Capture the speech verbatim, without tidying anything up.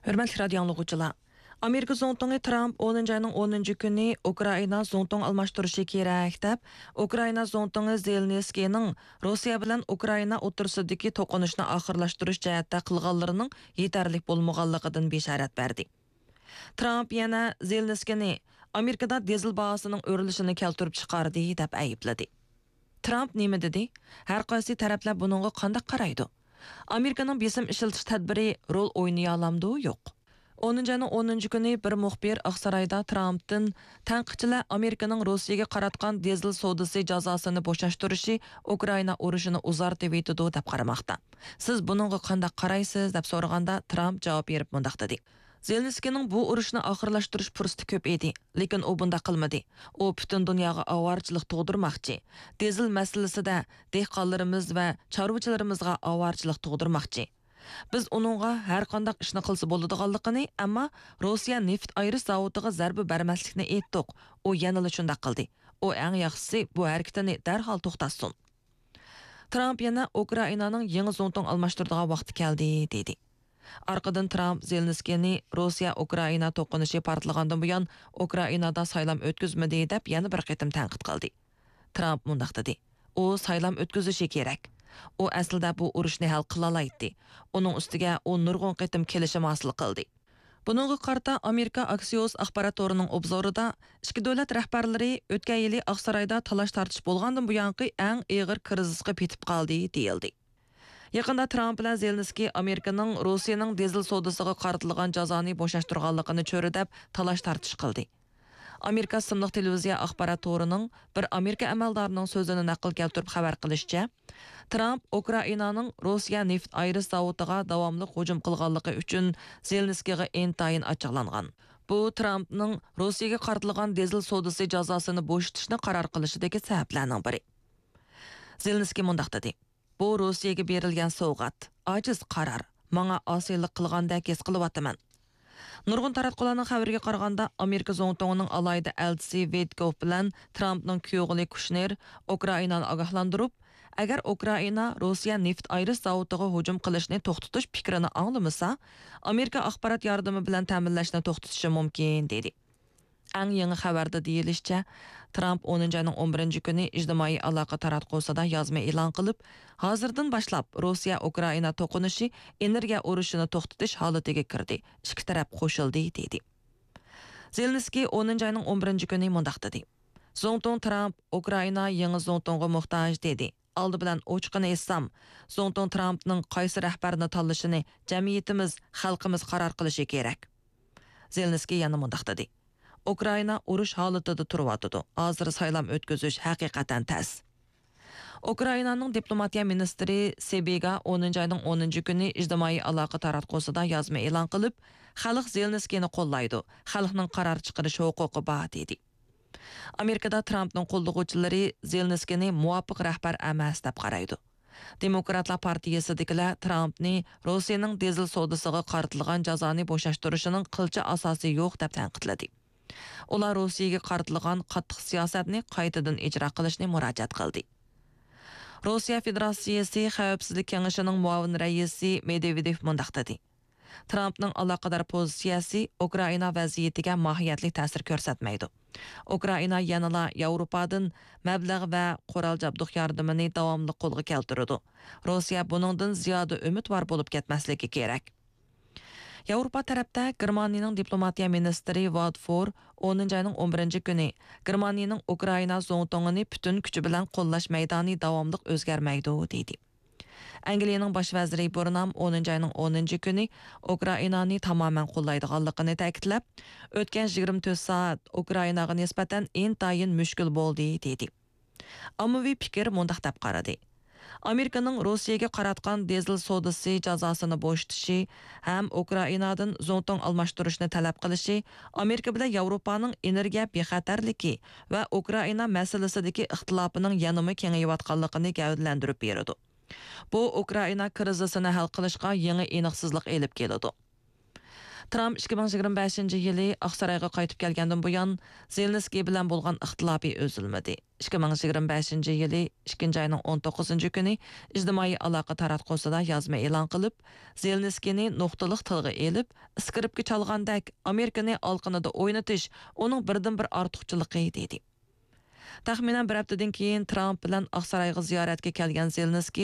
ھۆرمەتلىك رادىيو ئاڭلىغۇچىلار! ئامېرىكا زۇڭتۇڭى ترامپ ئونىنچى ئاينىڭ ئونىنچى كۈنى ئۇكرائىنا زۇڭتۇڭ ئالماشتۇرۇشى كېرەك دەپ، ئۇكرائىنا زۇڭتۇڭى زېلېنسكىينىڭ روسىيە بىلەن ئۇكرائىنا ئوتتۇرىسىدىكى توقۇنۇشنى ئاخىرلاشتۇرۇش جەھەتتە قىلغانلىرىنىڭ يېتەرلىك بولمىغانلىقىدىن بېشارەت بەردى. ترامپ يەنە زېلېنسكىينى ئامېرىكىدا دىزېل باھاسىنىڭ ئۆرلىشىنى كەلتۈرۈپ چىقاردى دەپ ئەيىبلىدى. ترامپ نېمە دېدى؟ ھەر قايسى تەرەپلەر بۇنىڭغا قانداق قارايدۇ؟ ئامېرىكىنىڭ بېسىم ئىشلىتىش تەدبىرى رول ئوينىيالامدۇ؟ يوق. ئونىنچى ئاينىڭ ئونىنچى كۈنى بىر مۇخبىر ئاقسارايدا ترامپتىن، تەنقىدچىلەر ئامېرىكىنىڭ روسىيەگە قاراتقان دىزېل سودىسى جازاسىنى بوشاشتۇرۇشى ئۇكرائىنا ئۇرۇشىنى ئۇزارتىۋېتىدۇ دەپ قارىماقتا. سىز بۇنىڭغا قانداق قارايسىز؟ دەپ سورىغاندا، ترامپ جاۋاب بېرىپ مۇنداق دېدى: زېلېنسكىينىڭ بۇ ئۇرۇشنى ئاخىرلاشتۇرۇش پۇرسىتى كۆپ ئىدى، لېكىن ئۇ بۇنداق قىلمىدى. ئۇ پۈتۈن دۇنياغا ئاۋارىچىلىق تۇغدۇرماقچى. دىزېل مەسىلىسىدە دېھقانلىرىمىز ۋە چارۋىچىلىرىمىزغا ئاۋارىچىلىق تۇغدۇرماقچى. بىز ئۇنىڭغا ھەر قانداق ئىشنى قىلسا بولىدىغانلىقىنى، ئەمما روسىيە نېفىت ئايرىش زاۋۇتىغا زەربە بەرمەسلىكنى ئېيتتۇق. ئۇ يەنىلا شۇنداق قىلدى. ئۇ ئەڭ ياخشىسى بۇ ھەرىكىتىنى دەرھال توختاتسۇن. ترامپ يەنە ئۇكرائىنانىڭ يېڭى زۇڭتۇڭ ئالماشتۇرىدىغان ۋاقتى كەلدى، دېدى. ئارقىدىن ترامپ زېلېنسكىينى روسىيە ئۇكرائىنا توقۇنۇشى پارتلىغاندىن بۇيان ئۇكرائىنادا سايلام ئۆتكۈزمىدى، دەپ يەنە بىر قېتىم تەنقىد قىلدى. ترامپ مۇنداق دېدى: ئۇ سايلام ئۆتكۈزۈشى كېرەك. ئۇ ئەسلىدە بۇ ئۇرۇشنى ھەل قىلالايتتى. ئۇنىڭ ئۈستىگە ئۇ نۇرغۇن قېتىم كېلىشىم ھاسىل قىلدى. بۇنىڭغا قارىتا ئامېرىكا ئاكسىيوس ئاخبارات تورىنىڭ ئوبزورىدا، ئىككى دۆلەت رەھبەرلىرى ئۆتكەن يىلى ئاقسارايدا تالاش-تارتىش بولغاندىن بۇيانقى ئەڭ ئېغىر كىرىزىسقا پېتىپ قالدى، دېيىلدى. يېقىندا ترامپ بىلەن زېلېنسكىي ئامېرىكىنىڭ روسىيەنىڭ دىزېل سودىسىغا قارىتىلغان جازانى بوشاشتۇرغانلىقىنى چۆرىدەپ تالاش-تارتىش قىلدى. ئامېرىكا سىملىق تېلېۋىزىيە ئاخبارات تورىنىڭ بىر ئامېرىكا ئەمەلدارىنىڭ سۆزىنى نەقىل كەلتۈرۈپ خەۋەر قىلىشىچە، ترامپ ئۇكرائىنانىڭ روسىيە نېفىت ئايرىش زاۋۇتىغا داۋاملىق ھۇجۇم قىلغانلىقى ئۈچۈن زېلېنسكىيغا ئىنتايىن ئاچچىقلانغان. بۇ ترامپنىڭ روسىيەگە قارىتىلغان دىزېل سودىسى جازاسىنى بوشىتىشنى قارار قىلىشىدىكى سەۋەبلەرنىڭ بىرى. زېلېنسكىي مۇنداق دېدى: بۇ روسىيەگە بېرىلگەن سوۋغات، ئاجىز قارار، ماڭا ئاسىيلىق قىلغاندەك ھېس قىلىۋاتىمەن. نۇرغۇن تاراتقۇلارنىڭ خەۋىرىگە قارىغاندا، ئامېرىكا زۇڭتۇڭىنىڭ ئالاھىدە ئەلچىسى ۋىتكوف بىلەن ترامپنىڭ كۈيئوغلى كۇشنېر ئۇكرائىنانى ئاگاھلاندۇرۇپ، ئەگەر ئۇكرائىنا روسىيە نېفىت ئايرىش زاۋۇتىغا ھۇجۇم قىلىشنى توختىتىش پىكرىنى ئاڭلىمىسا، ئامېرىكا ئاخبارات ياردىمى بىلەن تەمىنلەشنى توختىتىشى مۇمكىن، دېدى. ئەڭ يېڭى خەۋەردە دېيىلىشىچە، ترامپ ئونىنچى ئاينىڭ ئون بىرىنچى كۈنى ئىجتىمائىي ئالاقە تاراتقۇسىدا يازما ئېلان قىلىپ، ھازىردىن باشلاپ روسىيە ئۇكرائىنا توقۇنۇشى ئېنېرگىيە ئۇرۇشىنى توختىتىش ھالىتىگە كىردى، ئىككى تەرەپ قوشۇلدى، دېدى. زېلېنسكىي ئونىنچى ئاينىڭ ئون بىرىنچى كۈنى مۇنداق دېدى: زۇڭتۇڭ ترامپ ئۇكرائىنا يېڭى زۇڭتۇڭغا موھتاج، دېدى. ئالدى بىلەن ئوچۇقىنى ئېيتسام، زۇڭتۇڭ ترامپنىڭ قايسى رەھبەرنى تاللىشىنى جەمئىيىتىمىز، خەلقىمىز قارار قىلىشى كېرەك. زېلېنسكىي يەنە مۇنداق دېدى: ئۇكرائىنا ئۇرۇش ھالىتىدە تۇرۇۋاتىدۇ. ھازىر سايلام ئۆتكۈزۈش ھەقىقەتەن تەس. ئۇكرائىنانىڭ دىپلوماتىيە مىنىستىرى سېبىگا ئونىنچى ئاينىڭ ئونىنچى كۈنى ئىجتىمائىي ئالاقە تاراتقۇسىدا يازما ئېلان قىلىپ، خەلق زېلېنسكىينى قوللايدۇ، خەلقنىڭ قارار چىقىرىش ھوقۇقى بار، دېدى. ئامېرىكىدا ترامپنىڭ قوللىغۇچىلىرى زېلېنسكىينى مۇۋاپىق رەھبەر ئەمەس دەپ قارايدۇ. دېموكراتلار پارتىيىسىدىكىلەر ترامپنى روسىيەنىڭ دىزېل سودىسىغا قارىتىلغان جازانى بوشاشتۇرۇشىنىڭ قىلچە ئاساسى يوق دەپ تەنقىدلىدى. ئۇلار روسىيەگە قارىتىلغان قاتتىق سىياسەتنى قايتىدىن ئىجرا قىلىشنى مۇراجىئەت قىلدى. روسىيە فېدېراتسىيىسى خەۋپسىزلىك كېڭىشىنىڭ مۇئاۋىن رەئىسى مېدۋېدېف مۇنداق دېدى: ترامپنىڭ ئالاقىدار پوزىتسىيەسى ئۇكرائىنا ۋەزىيىتىگە ماھىيەتلىك تەسىر كۆرسەتمەيدۇ. ئۇكرائىنا يەنىلا ياۋروپادىن مەبلەغ ۋە قورال جابدۇق ياردىمىنى داۋاملىق قولغا كەلتۈرىدۇ. روسىيە بۇنىڭدىن زىيادە ئۈمىدۋار بولۇپ كەتمەسلىكى كېرەك. ياۋروپا تەرەپتە گېرمانىيىنىڭ دىپلوماتىيە مىنىستىرى ۋاد فور ئونىنچى ئاينىڭ ئون بىرىنچى كۈنى گېرمانىيىنىڭ ئۇكرائىنا زۇڭتۇڭىنى پۈتۈن كۈچى بىلەن قوللاش مەيدانى داۋاملىق ئۆزگەرمەيدۇ، دېدى. ئەنگلىيەنىڭ باش ۋەزىرى بۇرنام ئونىنچى ئاينىڭ ئونىنچى كۈنى ئۇكرائىنانى تامامەن قوللايدىغانلىقىنى تەكىتلەپ، ئۆتكەن يىگىرمە تۆت سائەت ئۇكرائىناغا نىسبەتەن ئىنتايىن مۈشكۈل بولدى، دېدى. ئاممىۋى پىكىر مۇنداق دەپ قارىدى: ئامېرىكىنىڭ روسىيەگە قاراتقان دىزېل سودىسى جازاسىنى بوشىتىشى ھەم ئۇكرائىنادىن زۇڭتۇڭ ئالماشتۇرۇشنى تەلەپ قىلىشى ئامېرىكا بىلەن ياۋروپانىڭ ئېنېرگىيە بىخەتەرلىكى ۋە ئۇكرائىنا مەسىلىسىدىكى ئىختىلاپىنىڭ يەنىمۇ كېڭىيىۋاتقانلىقىنى گەۋدىلەندۈرۈپ بېرىدۇ. بۇ ئۇكرائىنا كىرىزىسىنى ھەل قىلىشقا يېڭى ئېنىقسىزلىق ئېلىپ كېلىدۇ. ترامپ ئىككى مىڭ يىگىرمە بەشىنچى يىلى ئاقسارايغا قايتىپ كەلگەندىن بۇيان، زېلېنسكىي بىلەن بولغان ئىختىلاپى ئۈزۈلمىدى. ئىككى مىڭ يىگىرمە بەشىنچى يىلى ئىككىنچى ئاينىڭ ئون توققۇزىنچى كۈنى ئىجتىمائىي ئالاقە تاراتقۇسىدا يازما ئېلان قىلىپ، زېلېنسكىينى نۇقتىلىق تىلغا ئېلىپ، ئىسكرىپكا چالغاندەك، ئامېرىكىنى ئالىقىنىدا ئوينىتىش ئۇنىڭ بىردىنبىر ئارتۇقچىلىقى، دېدى. تەخمىنەن بىر ھەپتىدىن كېيىن ترامپ بىلەن ئاقسارايغا زىيارەتكە كەلگەن زېلېنسكىي